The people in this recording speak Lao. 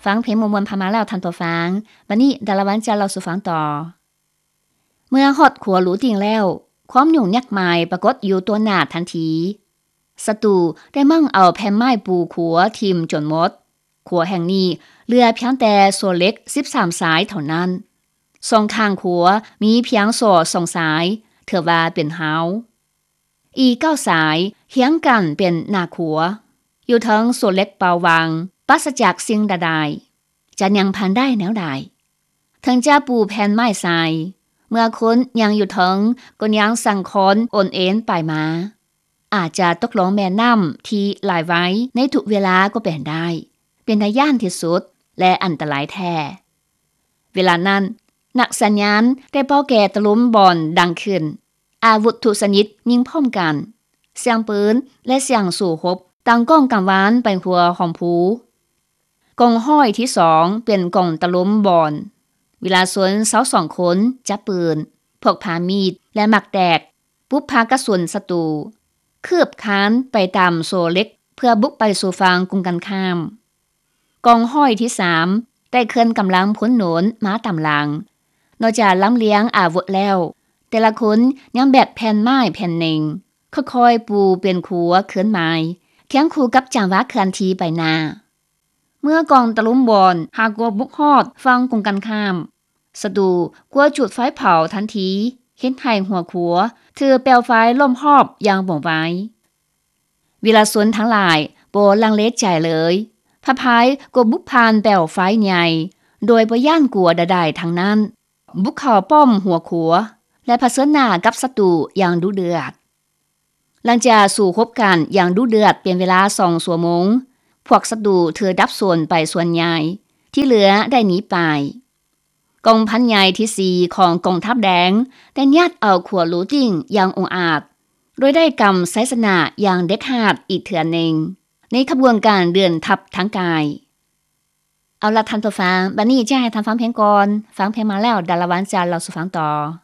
ຟັງເພງມ່ວນໆຜ່ານມາແລ້ວທ່ານຜູ້ຟັງ, ບັດນີ້ດາລາວັນຈະເລົ່າສູ່ຟັງຕໍ່. ເມື່ອຮອດຂົວຫຼູຕິ່ງແລ້ວ, ຄວາມຫຍຸ້ງຍາກໝາຍປາກົດຢູ່ຕໍ່ໜ້າທັນທີ. ສັດຕູໄດ້ໝັ້ງເອົາແຜ່ນໄມ້ປູຂົວຖິ້ມຈົນໝົດ. ຂົວແຫ່ງນີ້ເຫຼືອພຽງແຕ່ໂສ້ເຫຼັກສິບສາມສາຍເທົ່ານັ້ນ. ສອງຂ້າງຂົວມີພຽງໂສ້ສອງສາຍ, ຖືວ່າເປັນຮາວ. ອີກເກົ້າສາຍຮຽງກັນເປັນໜ້າຂົວ, ຢູ່ເທິງໂສ້ເຫຼັກເປົ່າຫວ່າງ, ປາສະຈາກສິ່ງໃດໆ. ຈະຍ່າງຜ່ານໄດ້ແນວໃດ? ເຖິງຈະປູແຜ່ນໄມ້ໃສ່, ເມື່ອຄົນຍ່າງຢູ່ເທິງກໍຍັງສັ່ນຄອນໂອນເອນໄປມາ, ອາດຈະຕົກລົງແມ່ນ້ຳທີ່ໄຫຼໄວໃນທຸກເວລາກໍເປັນໄດ້, ເປັນຕາຢ້ານທີ່ສຸດ ແລະ ອັນຕະລາຍແທ້. ເວລານັ້ນ, ນັກສັນຍານໄດ້ເປົ່າແກະຕະລຸມບອນດັງຂຶ້ນ. ອາວຸດທຸກຊະນິດຍິງພ້ອມກັນ, ສຽງປືນ ແລະ ສຽງສູ້ຮົບດັງກ້ອງກັງວານໄປທົ່ວຮ່ອມພູ. ກອງຮ້ອຍທີສອງເປັນກອງຕະລຸມບອນ. ວິລາຊົນຊາວສອງຄົນຈັບປືນ, ພກພາມີດ ແລະ ໝາກແຕກ, ປຸບພາກະສຸນສັດຕູ, ຄືບຄານໄປຕາມໂສ້ເຫຼັກເພື່ອບຸກໄປສູ່ຝັ່ງກົງກັນຂ້າມ. ກອງຮ້ອຍທີສາມໄດ້ເຄື່ອນກຳລັງພົນໜູນມາຕາມຫຼັງ. ນອກຈາກລຳລຽງອາວຸດແລ້ວ, ແຕ່ລະຄົນຍັງແບກແຜ່ນໄມ້ແຜ່ນໜຶ່ງ, ຄ່ອຍໆປູເປັນຂົວເຄື່ອນໄໝ, ຄຽງຄູ່ກັບຈັງຫວະເຄື່ອນທີ່ໄປໜ້າ. ເມື່ອກອງຕະລຸມບອນຫາກໍບຸກຮອດຝັ່ງກົງກັນຂ້າມ, ສັດຕູກໍຈູດໄຟເຜົາທັນທີ, ເຮັດໃຫ້ຫົວຂົວຖືກເປວໄຟລ້ອມຮອບຢ່າງວ່ອງໄວ. ວິລາຊົນທັງຫຼາຍບໍ່ລັງເລໃຈເລີຍ, ພະພາຍກໍບຸກຜ່ານເປວໄຟໃຫຍ່ ໂດຍບໍ່ຢ້ານກົວໃດໆທັງນັ້ນ, ບຸກເຂົ້າປ້ອມຫົວຂົວ ແລະ ຜະເຊີນໜ້າກັບສັດຕູຢ່າງດຸເດືອດ. ຫຼັງຈາກສູ້ຮົບກັນຢ່າງດຸເດືອດເປັນເວລາສອງຊົ່ວໂມງ, ພວກສັດຕູຖືກດັບສູນໄປສ່ວນໃຫຍ່, ທີ່ເຫຼືອໄດ້ໜີໄປ. ກອງພັນໃຫຍ່ທີສີ່ຂອງກອງທັບແດງໄດ້ຍາດເອົາຂົວຫຼູຕິ່ງຢ່າງອົງອາດ, ໂດຍໄດ້ກຳໄຊຊະນະຢ່າງເດັດຂາດອີກເທື່ອໜຶ່ງ ໃນຂະບວນການເດີນທັບທາງກາຍ. ເອົາລະທ່ານຜູ້ຟັງ, ບັດນີ້ຈະໃຫ້ທ່ານຟັງເພງກ່ອນ. ຟັງເພງມາແລ້ວ, ດາລາວັນຈະເລົ່າສູ່ຟັງຕໍ່.